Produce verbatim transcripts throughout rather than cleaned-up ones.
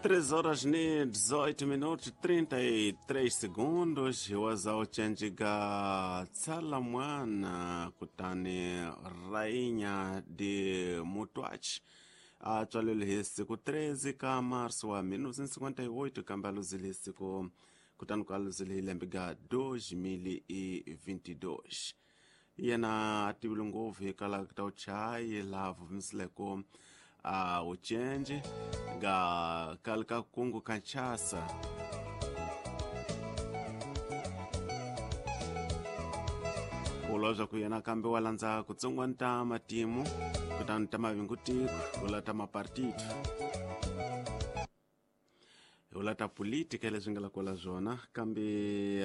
três horas e dezoito minutos trinta e três segundos. Wazauchenjiga tsala mwana kutani rainha de Mutuachi a tswalele hi siku treze ka março wa mil novecentos e cinquenta e oito, kambe a luzile hi siku kutani ku a luzile hi lembe ga dois mil e vinte e dois. Yena a tivile ngopfu hikwalaho ka uchayi laha vumisileko a uchenji ga kale ka kungu kanchasa. Ku yena kambe wa landza ku tsongwana ta matimu kutani ta mavingutiko u la ta mapartido u la ta politika leswi nga la kwala swona kambe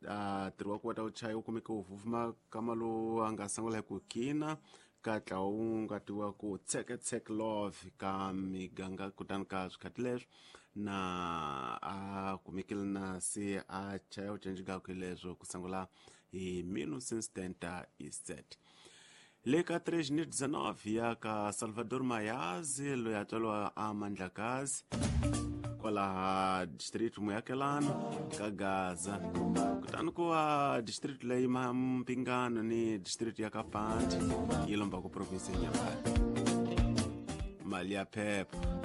a ntirho wa ku wa ta uchayi wu kumeke wu vuvuma kama lowu a nga sungula hi ku kina ka ntlawa wu nga tiviwa ku tseketseke love ka miganga kutani ka swikhathi leswi na a kumekile na se a chaya ucenji kakwe leswo ku sungula hi mil novecentos e setenta e sete. Le ka três mil e dezenove ya ka Salvador Mayazi loyi a tswariwa a Mandlakazi kwalaha district Muyakelano ka Gaza kutani ku va district leyi Mpingano ni district ya Kapandi yi lomba ku province ya Nyambayi mali ya phepha.